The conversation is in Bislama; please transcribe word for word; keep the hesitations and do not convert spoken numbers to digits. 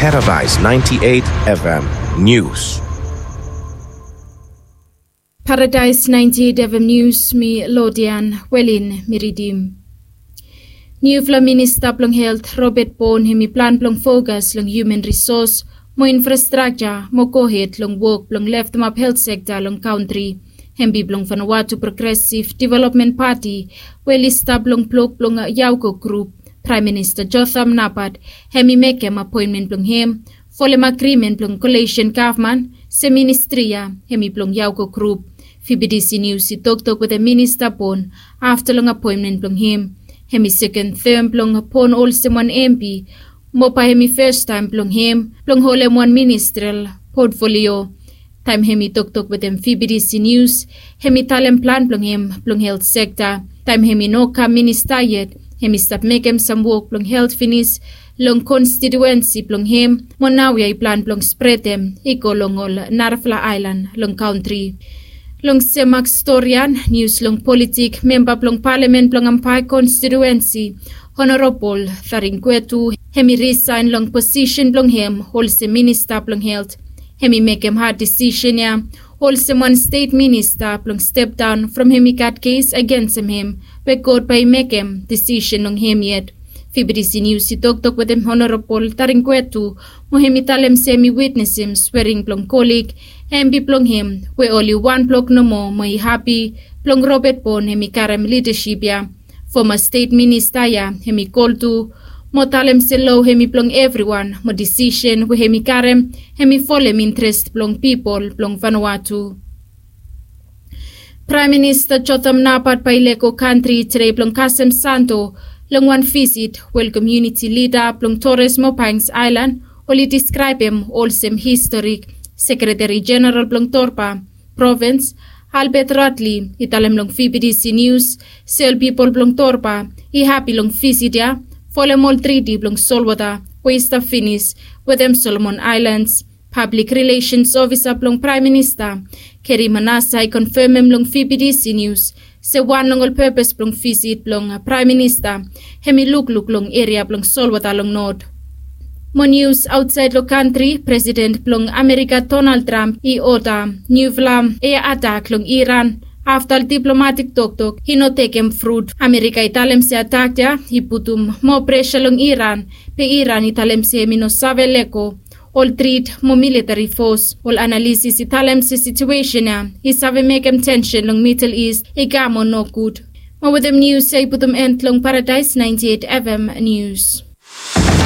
Paradise ninety-eight F M News. Paradise ninety-eight F M News, mi Lodian Welin mi ridim. Niufala minista blong helt Robert Bon hem i plan blong fokas long human resource mo infrastrakja mo gohed long wok blong leftemap helt sekta long kantri. Hem bi blong Vanuatu Progressive Development Party we oli stap long blok blong Yauko grup. Praem Minista Jotham Napat hem i mekem apoenmen blong hem folem agrimen blong kolesen gavman se ministri ya hem i blong Yauko grup. V B D C News i toktok wetem Minista Bon afta long apoenmen blong hem. Hem i seken tem blong Bon olsem wan M P mo bae hem i fastaem blong hem blong holem wan ministrel potfolio. Taem hem i toktok wetem V B D C News hem i talem plan blong hem blong helt sekta. Taem hem i no kam minista yet hem i stap mekem sam wok blong helt finis long konstitiuensi blong hem mo naoia i plan blong spretem i go long ol narafala aelan long kantri. Long semak storian nius long politik, memba blong palamen blong Ampai konstitiuensi, Honorabol Tharingwetu hem i risaen long posisen blong hem olsem minista blong helt. Hem i mekem had disisen ya olsem wan stet minista blong stepdaon from hem i gat kes agensem hem we God bae i mekem disisen long hem yet. V B D C News i toktok wetem Honorabol Tharingwetu mo hem i talem se hem i witnesem swering blong kolig hem bi blong hem we oli wan blok nomo mo i hapi blong Robert Bon hem i karem lidasip ya. Foma stet minista ya hem i kol tu mo talem se lo hem i blong evriwan mo disisen we hem i karem hem i folem intres blong pipol blong Vanuatu. Praem Minista Jotham Napat bae i lego kantri tede blong kasem Santo long wan visit we ol komuniti lida blong Torres mo Banks Aelan oli diskraebem olsem historik. Sekretari Jeneral blong Torba provins, Albert Radley, i talem long V B D C News se ol pipol blong Torba i hapi long visit ya folem ol triti blong solwota we i stap finis wetem Solomon Aelans. Pablik Rilesens Ofisa blong Praem Minista, Keri Manasa, i konfemem long V B D C News se wan long ol pepes blong visit blong Praem Minista hem i lukluk long eria blong solwota long not. Mo nius aotsaed long kantri, Presiden blong Amerika Donald Trump i oda niufala ea atak long Iran afta ol diplomatik toktok i no tekem frut. Amerika i talem se atak ya i putum moa presa long Iran, be Iran i talem se hem i no save lego ol trit mo militari fos. Ol analisis i talem se situesen ya i save mekem tensen long Midel Ist i kam mo nogud. Mo wetem nius ya i putum en long Paradaes naenti eit F M Nius.